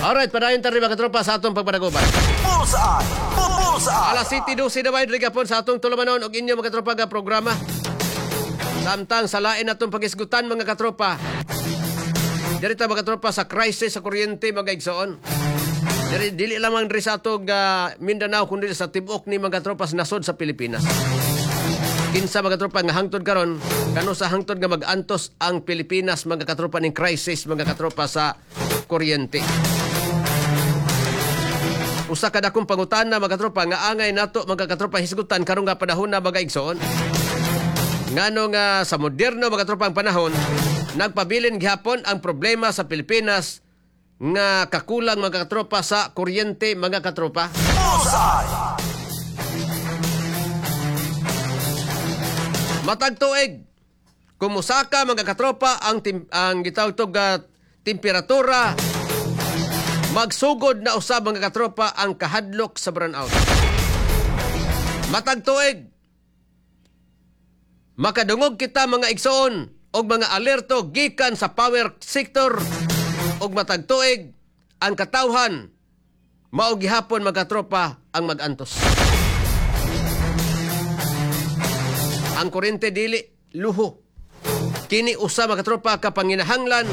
Alright, padayon ta rin, mga katropa, sa atong pagpadaguban. Bullseye! Bullseye! Alas 7:12 na ba gapon sa atong tulumanon og inyo, mga katropa, nga programa. Samtang sa lain natong pagisgutan, mga katropa. Diri ta, mga katropa, sa crisis sa kuryente, mga igsoon. Diri dili lamang diri sa atong Mindanao kundi sa tibuok ni, mga katropa, sa nasod sa Pilipinas. Kinsa, mga katropa, nga hangtod karon kano sa hangtod nga mag-antos ang Pilipinas, mga katropa, ning crisis, mga katropa, sa kuryente? Usa ka dakong pangutana, mga katropa, nga angay nato, mga katropa, hisgutan karon nga panahon na, mga igsoon. Ngano nga sa moderno, mga katropa, ang panahon, nagpabilin gihapon ang problema sa Pilipinas nga kakulang, mga katropa, sa kuryente, mga katropa? Bullseye! Matag tuig, kung musaka, mga katropa, ang gitawag temperatura, magsugod na usab, mga katropa, ang kahadlok sa brownout. Matag tuig, makadungog kita, mga igsoon, og mga alerto gikan sa power sector og matag tuig ang katawhan mao gihapon, mga katropa, ang magantos. Ang kuryente dili luho. Kini usa, mga katropa, ka panginahanglan.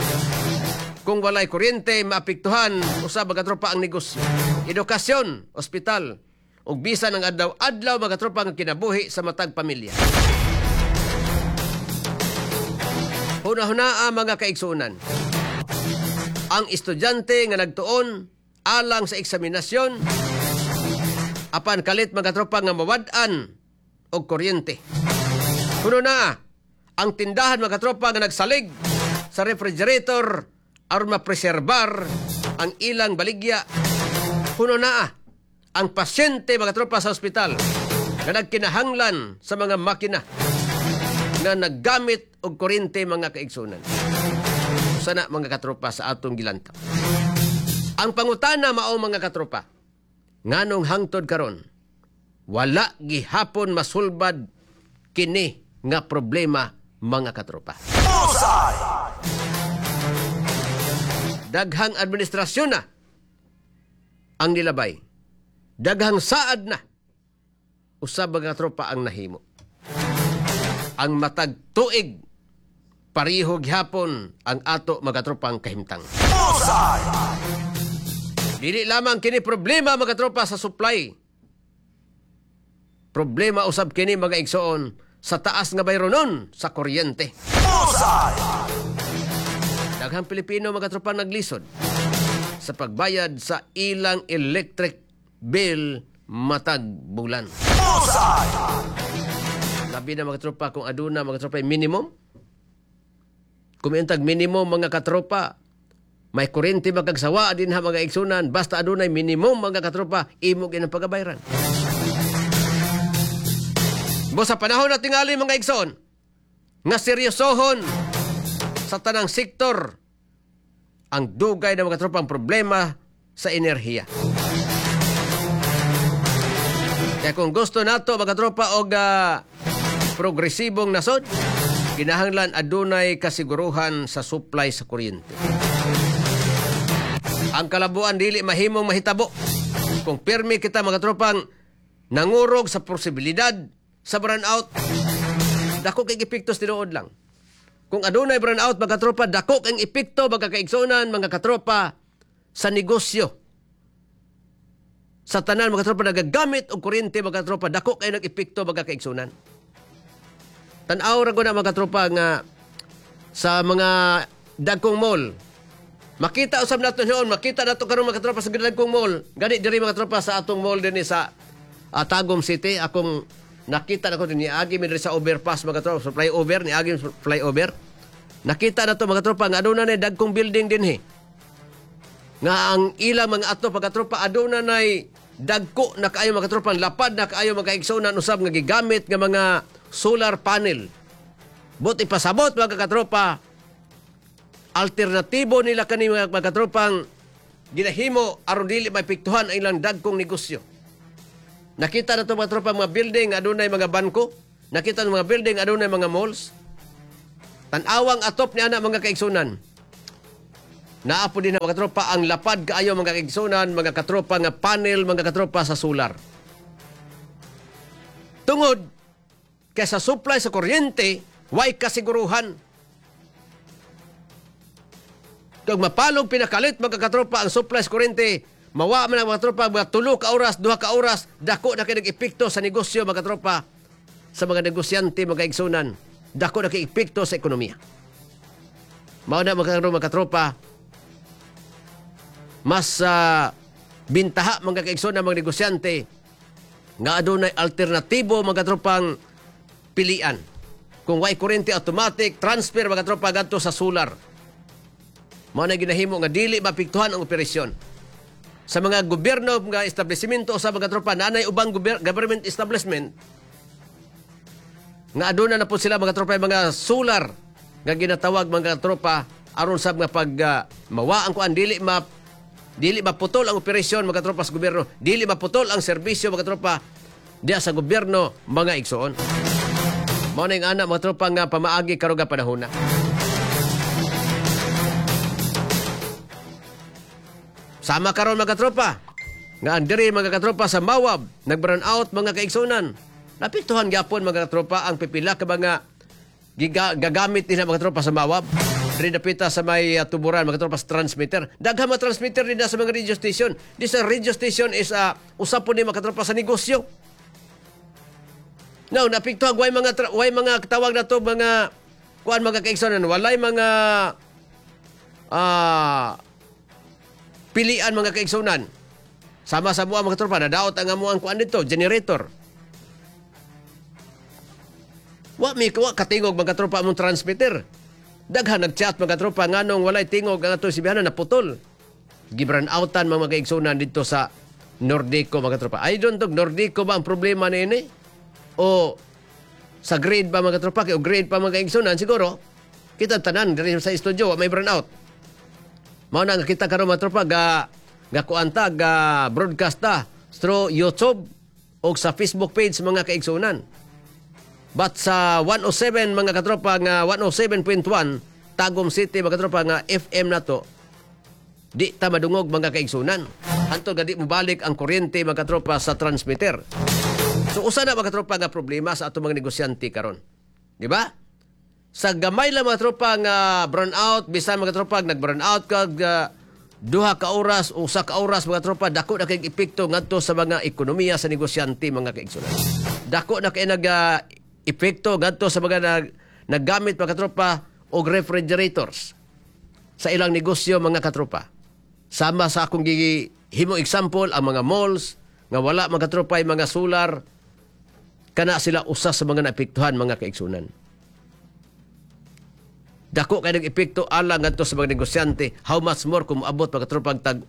Kung walay kuryente, maapektuhan usab, mga katropa, ang negosyo, edukasyon, ospital, ug bisan ang adlaw-adlaw, mga katropa, nga kinabuhi sa matag pamilya. Huna-hunaa, mga kaigsuonan. Ang estudyante nga nagtuon alang sa eksaminasyon apan kalit, mga katropa, nga mawad-an og kuryente. Kuno na ang tindahan, mga katropa, nga nagsalig sa refrigerator aron mapreserbar ang ilang baligya. Kuno na ang pasyente, mga katropa, sa ospital nga nagkinahanglan sa mga makina nga naggamit og kuryente, mga kaigsunan. Sana, mga katropa, sa atong gilantaw. Ang pangutana mao, mga katropa, nganong hangtod karon wala gihapon masulbad kini nga problema, mga katropa? Bullseye! Daghang administrasyon na ang nilabay. Daghang saad na usab, mga katropa, ang nahimo. Ang matag tuig pareho gihapon ang ato, mga katropa, ang kahimtang. Bullseye! Dili lamang kini problema, mga katropa, sa supply. Problema usab kini, mga igsoon, sa taas nga bayronon sa kuryente. Bullseye! Daghang Pilipino, mga katropa, naglisod sa pagbayad sa ilang electric bill matag bulan. Bullseye! Labi na, mga katropa, kung aduna, mga katropa, minimum. Kung intag minimum, mga katropa, may kuryente magkagsawa din ha, mga igsunan, basta adunay minimum, mga katropa, imo gyud ang pagabayran. Bo sa panahon na tingali, mga igsoon, nga seryosohon sa tanang sektor ang dugay na, mga katropa, ang problema sa enerhiya. Kaya kung gusto nato, mga katropa, og progresibong nasod, kinahanglan adunay kasiguruhan sa supply sa kuryente. Ang kalabuan dili mahimong mahitabo kung pirmi kita, mga tropang, nangurog sa posibilidad sa brownout. Dako kay epekto, tinuod lang. Kung adunay brownout, mga katropa, dako kang epekto, mga kaigsuonan, mga katropa, sa negosyo. Sa tanan, mga katropa, nagagamit og kuryente, mga katropa, dako kay nag-epekto, mga kaigsuonan. Tan-aw ra ko na, mga katropa, nga sa mga dagkong mall. Makita usab nato noon, makita nato karon, mga katropa, sa dagkong mall. Gani diri, mga katropa, sa atong mall dinhi sa Tagum City, akong nakita nako din niagi mi diri sa overpass, mga katropa, sa flyover, niagi mi sa flyover. Nakita nato, mga katropa, nga aduna nay dagkong building dinhi. Nga ang ilang mga ato, mga katropa, aduna nay dagko na kaayo, mga katropa, lapad na kaayo, mga kaigsuonan, usab nga gigamit nga mga solar panel. But ipasabot, mga katropa, alternatibo nila kani, mga katropang, ginahimo aron dili maepektuhan ang ilang dagkong negosyo. Nakita na to, mga tropa, mga building adunay mga bangko, nakita ng mga building adunay mga malls. Tan-awang atop ni ana, mga kaigsunan. Naa po din na, mga katropa, ang lapad kaayo, mga kaigsunan, mga katropa, nga panel, mga katropa, sa solar. Tungod kay sa supply sa kuryente, way kasiguruhan. Kung mapalog pinakalit, mga katropa, ang supply sa kuryente, mawa man ang mga katropa, mga 3 ka oras, 2 ka oras, dako na kay nag-epekto sa negosyo, mga katropa, sa mga negosyante, mga igsunan. Dako na kay epekto sa ekonomiya. Mao na, mga katropa, mas bintaha, mga kaigsunan, mga negosyante nga adunay alternatibo, mga katropang pilian. Kung way kuryente, automatic transfer, mga katropa, gadto sa solar. Mao na ginahimo nga dili maapektuhan ang operasyon. Sa mga gobyerno mga establishmento sa mga tropa, naanay ubang government establishment nga aduna na po sila, mga tropa, yung mga solar nga ginatawag, mga tropa, aron sa mga pag mawa ang kuan, dili maputol ang operasyon, mga tropa, sa gobyerno, dili maputol ang serbisyo, mga tropa, diya sa gobyerno, mga igsoon. Mao na yung ana, mga tropa, nga pamaagi karon nga panahona. Sama karon, mga katropa, nga andiri, mga katropa, sa Mawab, nag-brown out, mga kaigsunan. Napiktuhan gyapon, mga katropa, ang pipila ka mga gagamit nila, mga tropa, sa Mawab. Diri dapita sa may tuburan, mga tropa, sa transmitter. Daghan mga transmitter din sa mga radio station. This radio station is usa po ni, mga katropa, sa negosyo. Now, napiktuhan way mga tawag na to, mga kuan, mga kaigsunan, walay mga pilian, mga kaigsunan. Sama sa buwa, mga tropa, nadaot ang amuang kuan dito, generator. Wa mi wa katingog, mga tropa, among transmitter. Daghan nagchat, mga tropa, nganong walay tingog ang atong sibihanan, naputol. Gibran outan mga kaigsunan dito sa Nordico, mga tropa. I don't know, Nordico ba ang problema niini? O sa grade ba, mga tropa? Kay o grade pa, mga kaigsunan, siguro kita tanan diri sa studio wa may brown out. Mao na nga kita karon, mga tropa, ga ga kuan ta, ga broadcast ta through YouTube o sa Facebook page, mga kaigsunan. But sa 107, mga katropa, nga 107.1 Tagum City, mga katropa, nga FM na to, di ta madungog, mga kaigsunan. Hantod nga di mobalik ang kuryente, mga katropa, sa transmitter. So usa na, mga katropa, nga problema sa atong mga negosyante karon. Di ba? Sa gamay lang, mga tropa, nga brown out, bisan, mga tropa, nag brown out ka 2 ka oras, 1 ka oras, mga tropa, dako na kay epekto ngadto sa mga ekonomiya sa negosyante, mga kaigsunan. Dako na kay nag epekto ngadto sa mga naggamit, mga katropa, og refrigerators sa ilang negosyo, mga katropa. Sama sa akong gihimo example, ang mga malls nga wala, mga katropa, ay mga solar, kana sila usa sa mga naepektuhan, mga kaigsunan. Dako kay nag-epekto alang ngadto sa mga negosyante, how much more kung moabot, mga katropa, tag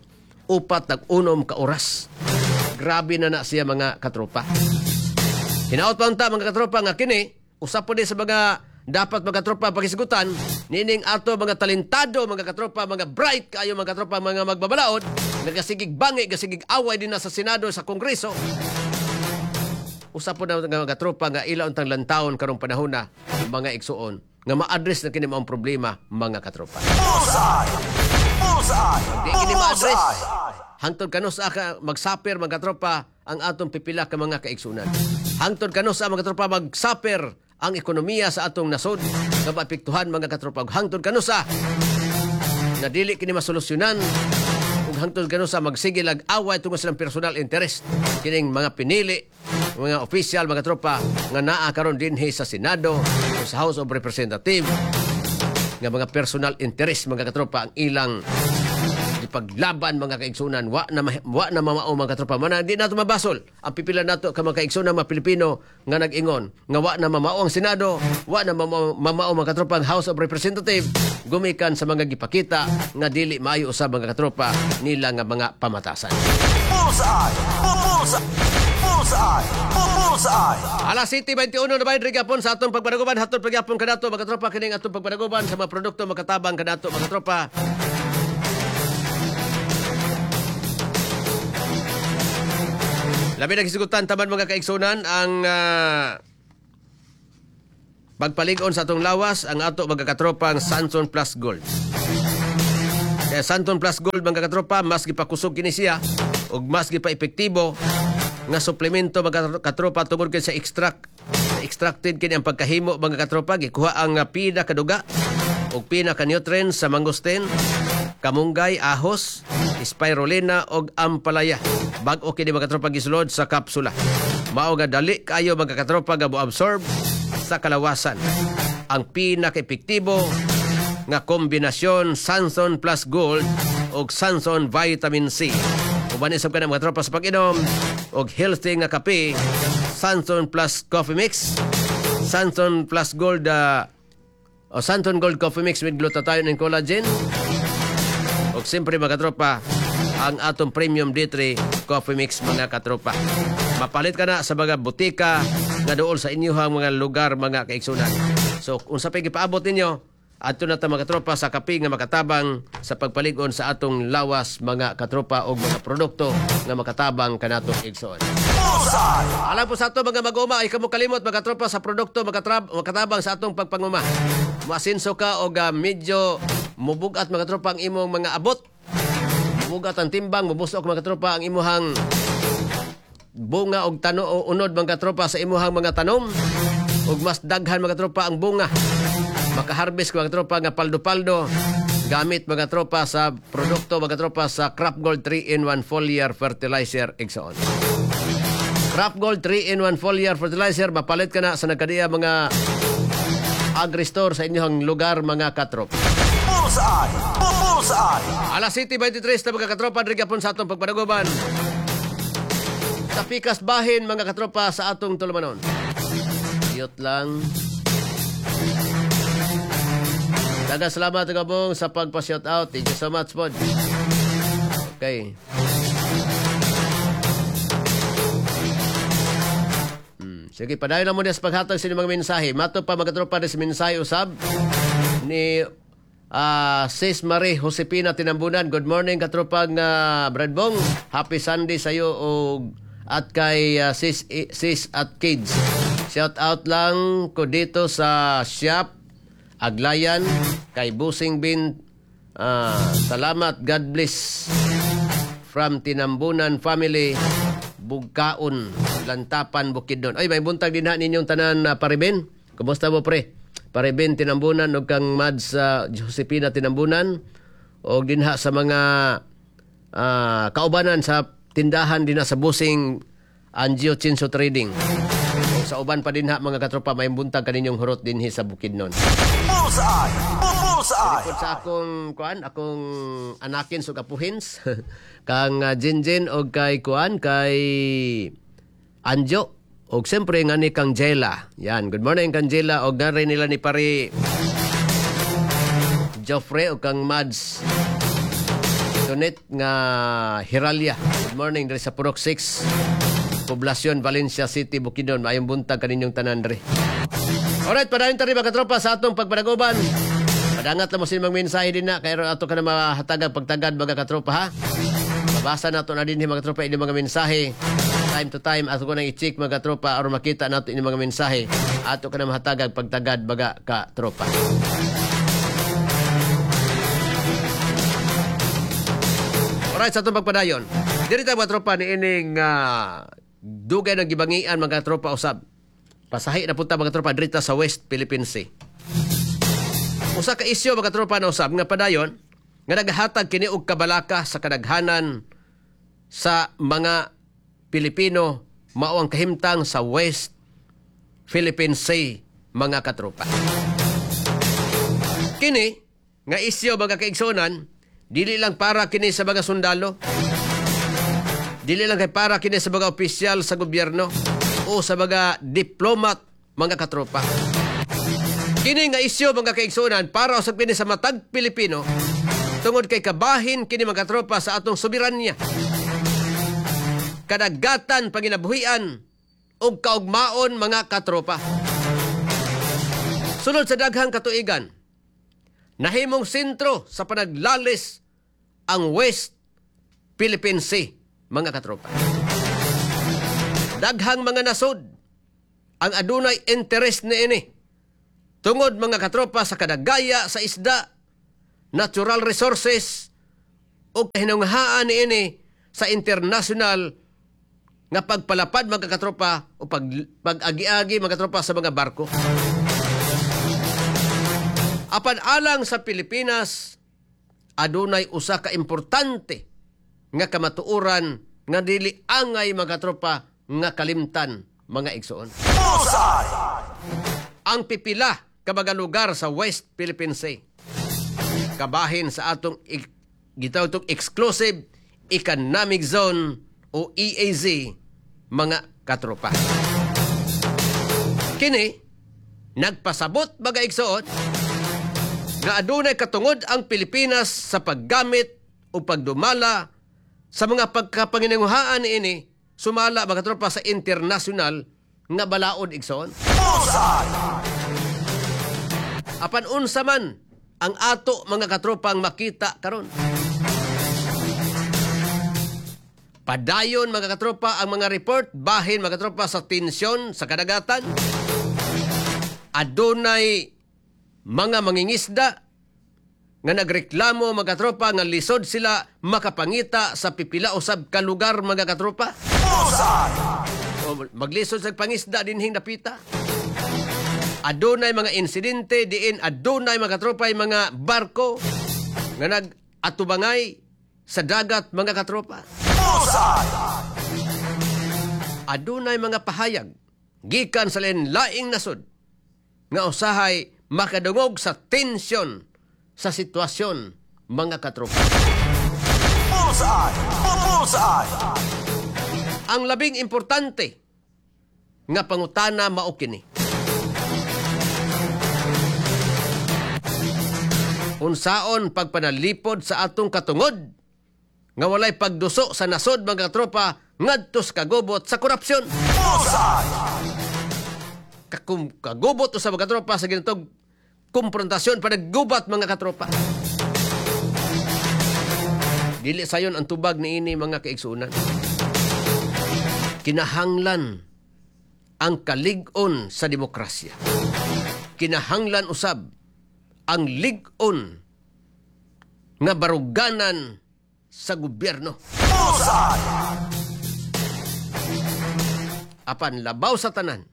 4, tag 6 ka oras. Grabe na na siya, mga katropa. Hinaot pa unta, mga katropa, nga kini usa po ni sa mga dapat, mga katropa, pakisgutan nining ato mga talentado, mga katropa, mga bright kaayo, mga katropa, mga magbabalaod, nagasigig bangi, gasigig away din na sa Senado, sa Kongreso. Usa po na nga, mga katropa, nga ila untang lantawon karong panahon na, mga igsuon, nga ma-address na kini maong problema, mga katropa. Bullseye! Bullseye! Di kini ma-address, Bullseye! hangtod kanus-a ka magsuffer, mga katropa, ang atong pipila ka mga kaigsunan? Hangtod kanus-a, mga katropa, magsuffer ang ekonomiya sa atong nasod nga maapektuhan, mga katropa? Hangtod kanus-a na dili kini masolusyonan ug hangtod kanus-a magsige lag away tungod sa ilang personal interest kining mga pinili, mga official, mga tropa, nga naa karon dinhi sa Senado o sa House of Representatives, nga mga personal interest, mga katropa, ang ilang ipaglaban, mga kaigsunan? Wa na mamao, mga katropa mana. Di nato mabasol ang pipila nato ka mga kaigsunan, mga Pilipino nga nag-ingon nga wa na mamao ang Senado, wa na mamao, mga katropa, ang House of Representative, gumikan sa mga gipakita nga dili maayo usab, mga katropa, nila nga mga pamatasan. Bullseye! Bullseye! Bullseye! Bullseye! Alas 7:21 na ba gapon sa atong pagpanaguban. Hatod pagyapon kanato, mga katropa, kining atong pagpanaguban sa mga produkto makatabang kanato, mga katropa. Labi naghisgutan taman, mga kaigsunan, ang pagpalig-on sa atong lawas, ang ato mga katropang Sanson Plus Gold. Kaya Santon Plus Gold, mga katropa, mas gipakusog kini siya ug mas gipa-epektibo nga suplemento, mga katropa, tungod kay sa extract, extracted kini ang pagkahimo, mga katropa. Gikuha ang pina kaduga ug pina ka nutrients sa mangosteen, kamunggay, ahos, spirulina ug ampalaya. Bag-o kini, mga katropa, gisulod sa kapsula. Mao nga dali kaayo, mga katropa, nga mo-absorb sa kalawasan. Ang pinaka-epektibo nga kombinasyon, Sanson Plus Gold ug Sanson Vitamin C. Uban isab ka na, mga tropa, sa pag-inom og healthy nga kape, Sanson Plus Coffee Mix, Sanson Plus Gold o Sanson Gold Coffee Mix with glutathione and collagen. Og siyempre, mga katropa, ang atong Premium D3 Coffee Mix, mga katropa. Mapalit ka na sa mga butika nga duol sa inyong mga lugar, mga kaigsunan. So unsa pa'y gipaabot ninyo, adto na ta, mga katropa, sa kape nga makatabang sa pagpalig-on sa atong lawas, mga katropa, og mga produkto nga makatabang kanato, igsoon. Bullseye! Alam po sa ato mga mag-uma ay kamo kalimot, mga katropa, sa produkto makatabang sa atong pagpanguma. Muasinso ka og medyo mubugat, mga tropa, ang imong mga abot. Mubugat ang timbang, mubusok, mga tropa, ang imuhang bunga og tano o unod, mga tropa, sa imuhang mga tanom ug mas daghan, mga tropa, ang bunga. Makaharvest, mga tropa, nga paldo-paldo gamit, mga tropa, sa produkto, mga tropa, sa Crop Gold 3-in-1 Foliar Fertilizer, igsoon. Crop Gold 3-in-1 Foliar Fertilizer, mapalit ka na sa nagkadiya mga agri-store sa inyong lugar, mga katrop. Bullseye! Bullseye! Alas 7:23 na, mga katropa, diri gapon sa atong pagpanaguban. Sa pikas bahin, mga katropa, sa atong tulumanon. Iyot lang. Daghang salamat, Gabong, sa pagpa-shout out. Thank you so much po. Okay. Sige, padayon lang muna sa paghatag sa inyong mga mensahe. Mato pa, mga katropa, sa mensahe usab ni Sis Marie Josepina Tinambunan. Good morning, katropang Bradbong. Happy Sunday sa iyo og at kay sis, sis at kids. Shout out lang ko dito sa shop Aglayan kay Busing Bin. Salamat, God bless. From Tinambunan family, Bugkaon, Lantapan, Bukidnon. Ay, may buntag din ha ninyong tanan, Paribin. Kumusta mo, pre? Paribin Tinambunan ug kang Mads Josepina Tinambunan og dinha sa mga kaubanan sa tindahan dinha sa Busing Angio Chinso Trading. Ug sa uban pa dinha, mga katropa, may buntag kaninyong hurot dinhi sa Bukidnon. Bullseye! Bullseye! Likod sa akong kuan, akong anakin sa kapuhins kang Jinjin og kay kuan, kay Anjo og siyempre nga ni kang Jela. Yan, good morning kang Jela og gari nila ni pare Joffrey og kang Mads Tonet nga Hiralia. Good morning diri sa Purok 6, Poblasyon, Valencia City, Bukidnon. Maayong buntag kaninyong tanan diri. Alright, padayon ta rin, mga katropa, sa atong pagpanaguban. Padangat na mo sa mga mensahe din na, kaya ato ka na mahatagag pagtagad, mga katropa, ha. Mabasa na to na din, mga katropa, inyong mga mensahe. Time to time, ato ko nang i-check, mga katropa, aron makita nato inyong mga mensahe. Ato ka na mahatagag pagtagad, mga katropa. Alright, sa atong pagpadayon. Diri ta, mga tropa, ni ining dugay ng gibangian, mga tropa, usab. Pasahi na punta, mga tropa, diri ta sa West Philippine Sea. Usa ka isyu, mga tropa, na usab nga padayon nga naghatag kini og kabalaka sa kadaghanan sa mga Pilipino, mao ang kahimtang sa West Philippine Sea, mga katropa. Kini nga isyu, mga kaigsunan, dili lang para kini sa mga sundalo, dili lang kay para kini sa mga opisyal sa gobyerno o sa mga diplomat, mga katropa. Kini nga isyu, mga kaigsunan, para usab kini sa matag Pilipino tungod kay kabahin kini, mga katropa, sa atong soberanya, kadagatan, panginabuhian ug kaugmaon, mga katropa. Sunod sa daghang katuigan, nahimong sentro sa panaglalis ang West Philippine Sea, mga katropa. Daghang mga nasod ang adunay interest niini tungod, mga katropa, sa kadagaya sa isda, natural resources o kahinunghaan niini sa international nga pagpalapad, mga katropa, o pag-agi-agi, mga katropa, sa mga barko. Apan alang sa Pilipinas, adunay usa ka importante nga kamatuoran nga dili angay, mga katropa, nga kalimtan, mga igsoon. Bullseye! Ang pipila ka mga lugar sa West Philippine Sea kabahin sa atong gitawag itong Exclusive Economic Zone o EAZ, mga katropa. Kini nagpasabot, mga igsoon, nga adunay katungod ang Pilipinas sa paggamit o pagdumala sa mga pagkapanginanguhaan niini sumala, mga katropa, sa international nga balaod, igsoon. Bullseye! Apan unsa man ang ato, mga katropang, makita karon? Padayon, mga katropa, ang mga report bahin, mga katropa, sa tensyon sa kadagatan. Adunay mga mangingisda nga nagreklamo, mga katropa, nga lisod sila makapangita sa pipila usab ka lugar, mga katropa. Bullseye! O maglisod sa pangisda dinhing dapita. Adunay mga insidente diin adunay, mga katropa, mga barko nga nag-atubangay sa dagat, mga katropa. Bullseye! Adunay mga pahayag gikan sa lain-laing nasod nga usahay makadungog sa tensyon sa sitwasyon, mga katropa. Bullseye! Bullseye! Ang labing importante nga pangutana mao kini: Unsaon pagpanalipod sa atong katungod nga walay pagduso sa nasod, mga katropa, ngadto sa kagubot sa korupsyon? Bullseye! Kagubot sa mga katropa sa ginatog kumprontasyon, panaggubat, mga katropa. Dili sayon ang tubag niini, mga kaigsuonan. Kinahanglan ang kalig-on sa demokrasya. Kinahanglan usab ang lig-on nga baruganan sa gobyerno. Bullseye! Apan labaw sa tanan,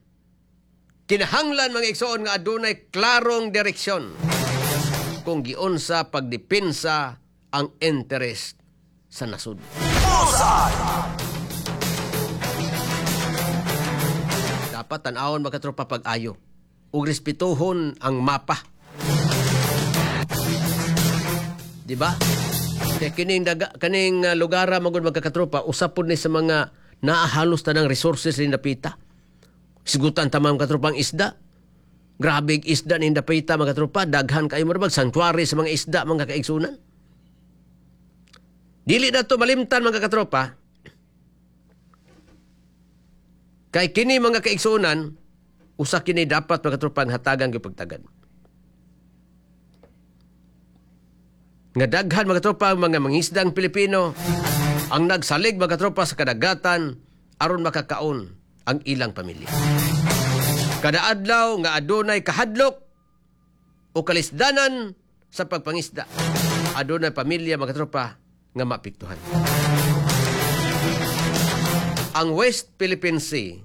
kinahanglan, mga igsoon, nga adunay klarong direksyon kung giunsa pagdepensa ang interest sa nasod. Bullseye! Dapat tan-awon, mga katropa, pag-ayo ug respetuhon ang mapa. Di ba? Kaya kining daga, kaning lugara magud, mga katropa, usa pud ni sa mga naahalos tanang resources ni dapita. Sigutan ta, mga katropa, ang isda. Grabe isda ni dapita, mga katropa, daghan kayo murag sanctuary sa mga isda, mga kaigsunan. Dili na to malimtan, mga katropa. Kay kini, mga kaigsunan, usa kini dapat, mga katropa, ang hatagang gipagtagad. Nga daghan, mga katropa, ang mga mangisdang Pilipino ang nagsalig, mga katropa, sa kadagatan aron makakaon ang ilang pamilya. Kada adlaw nga adunay kahadlok o kalisdanan sa pagpangisda, adunay pamilya, mga katropa, nga maapektuhan. Ang West Philippine Sea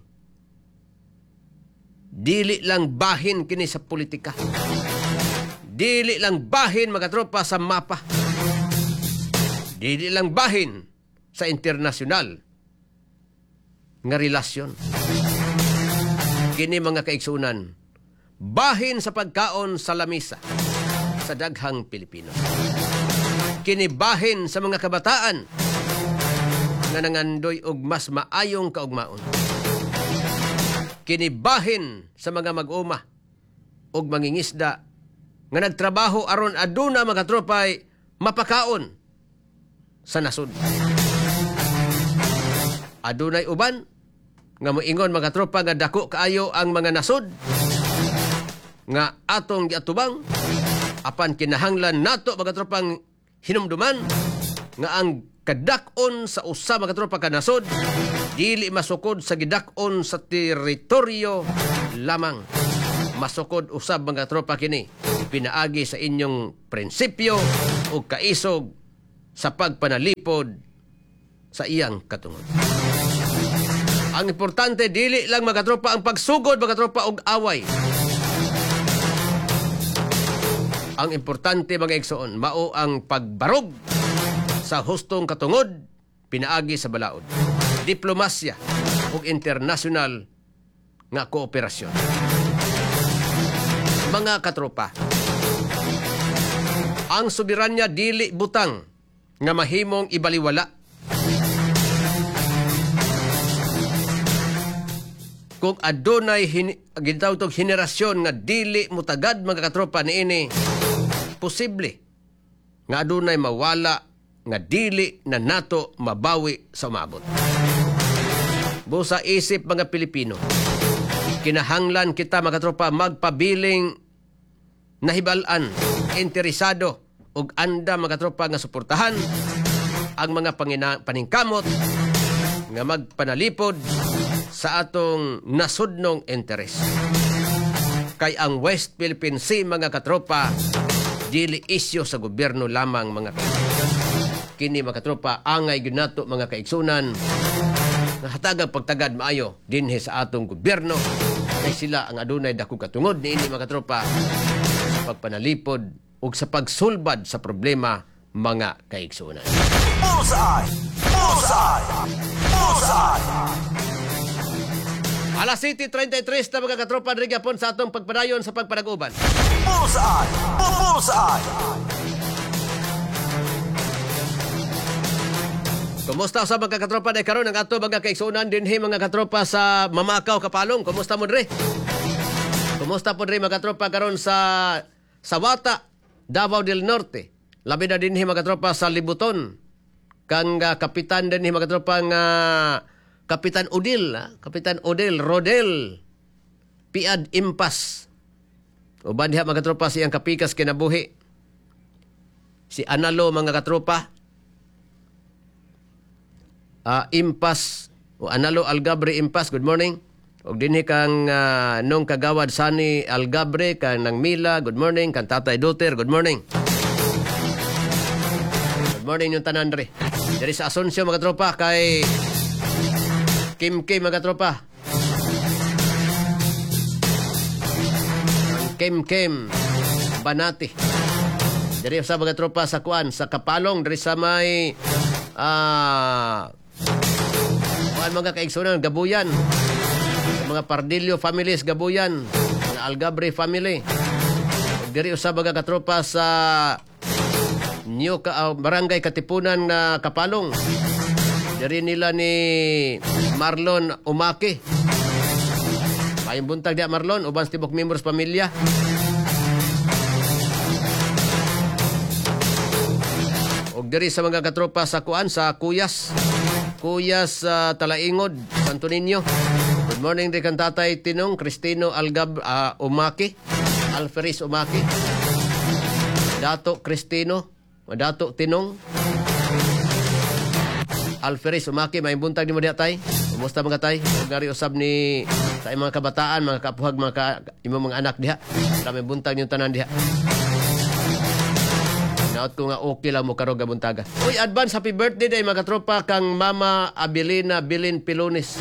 dili lang bahin kini sa politika. Dili lang bahin, mga tropa, sa mapa. Dili lang bahin sa internasyonal nga relasyon. Kini, mga kaigsunan, bahin sa pagkaon sa lamisa sa daghang Pilipino. Kini bahin sa mga kabataan nga nangandoy og mas maayong kaugmaon. Kini bahin sa mga mag-uma og mangingisda nga nagtrabaho aron aduna, mga tropay, mapakaon sa nasod. Adunay uban nga moingon, mga tropa, nga dako kaayo ang mga nasod nga atong giatubang, apan kinahanglan nato, mga tropang, hinumduman nga ang kadak-on sa usa, mga tropa, ka nasod dili masukod sa gidak-on sa teritoryo lamang. Masukod usab, mga tropa, kini pinaagi sa inyong prinsipyo o kaisog sa pagpanalipod sa iyang katungod. Ang importante dili lang mga katropa ang pagsugod mga katropa og away. Ang importante mga igsoon mao ang pagbarog sa hustong katungod pinaagi sa balaod, diplomasya ug international nga kooperasyon. Mga katropa, ang soberanya dili butang nga mahimong ibaliwala. Kung adunay gitawag tog henerasyon nga dili mutagad mga katropa niini, posible nga adunay mawala nga dili na nato mabawi sa umaabot. Busa isip mga Pilipino, kinahanglan kita mga katropa magpabiling nahibal-an, interesado ug anda mga katropa nga suportahan ang mga paningkamot nga magpanalipod sa atong nasudnong interes. Kay ang West Philippine Sea mga katropa dili isyu sa gobyerno lamang mga katropa. Kini mga katropa angay gyud nato mga kaigsunan nga hatagang pagtagad maayo dinhi sa atong gobyerno kay sila ang adunay dako katungod niini mga katropa sa pagpanalipod ug sa pagsulbad sa problema mga kaigsunan. Bullseye! Bullseye! Bullseye! Alas 7:33 na mga katropa, diri gyapon sa atong pagpadayon sa pagpanag-uban. Bullseye! Bullseye! Kumusta sa mga katropa day karon ang ato mga kaigsuonan dinhi mga katropa sa Mamakaw Kapalong? Kumusta mo dre? Kumusta po dre mga katropa karon sa Sawata, Davao del Norte? Labi na dinhi mga katropa sa Libuton. Kang kapitan dinhi mga katropa nga Kapitan Odil, ha? Kapitan Odil Rodel Piad Impas. Uban diha mga katropa siyang kapikas kinabuhi. Si Analo mga katropa. Impas o Analo Algabre Impas, good morning. Og dinhi kang nung kagawad Sani Algabre kang nang Mila, good morning. Kang Tatay Duter, good morning. Good morning yung tanan dre. Diri sa Asuncion mga katropa kay Kim Kim mga tropa. Kim Kim Banati. Diri sa mga tropa sa kuan sa Kapalong diri sa may kuan mga kaigsunan Gabuyan. Sa mga Pardillo families Gabuyan, mga Algabre family. Ug diri sa mga katropa sa New Barangay Katipunan na Kapalong. Diri nila ni Marlon Umaki. Mayong buntag diya Marlon, uban sa tibok members pamilya. Og diri sa mga katropa sa kuan sa Kuyas. Kuyas Talaingod, Santo Niño. Good morning di kan Tatay Tinong Cristino Algab Umaki, Alferis Umaki. Dato Cristino, Dato Tinong Alferis Umaki, may buntag nimo diha tay. Kumusta mga tay? Ug ngari usab ni sa imong mga kabataan, mga kapuhag, mga imong mga anak diha. May buntag niyong tanan diha. Naot ko nga okay lang mo karong gabuntaga. Uy, advance happy birthday day mga katropa kang Mama Abilina Bilin Pilones.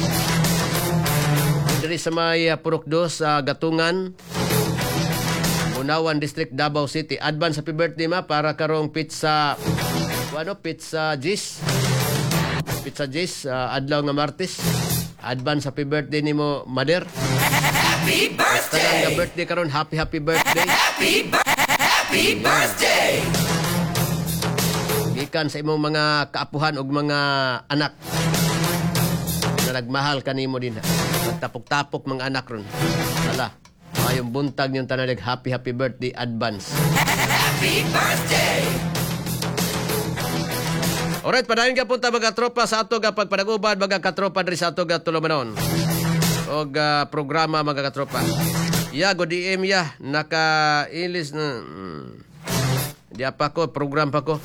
Diri sa may Purok Dos sa Gatungan, Bunawan District, Davao City. Advance happy birthday ma para karong pizza ano, pizza Gis. Pizza Gis, adlaw nga Martes. Advance happy birthday nimo, Mader. Happy Tanan nga birthday karon, happy happy birthday. Happy birthday! Gikan sa imong mga kaapuhan ug mga anak na nagmahal kanimo din. Nagtapok-tapok mga anak ron. Hala, mayong buntag niyong tanan, happy happy birthday advance. Happy birthday! Alright, padayon ka punta mga tropa sa ato nga pagpanaguban, mga katropa diri sa ato nga tulumanon og programa mga katropa. Ya, go DM ya, naka-ilis na. Di pa ko, program pa ko.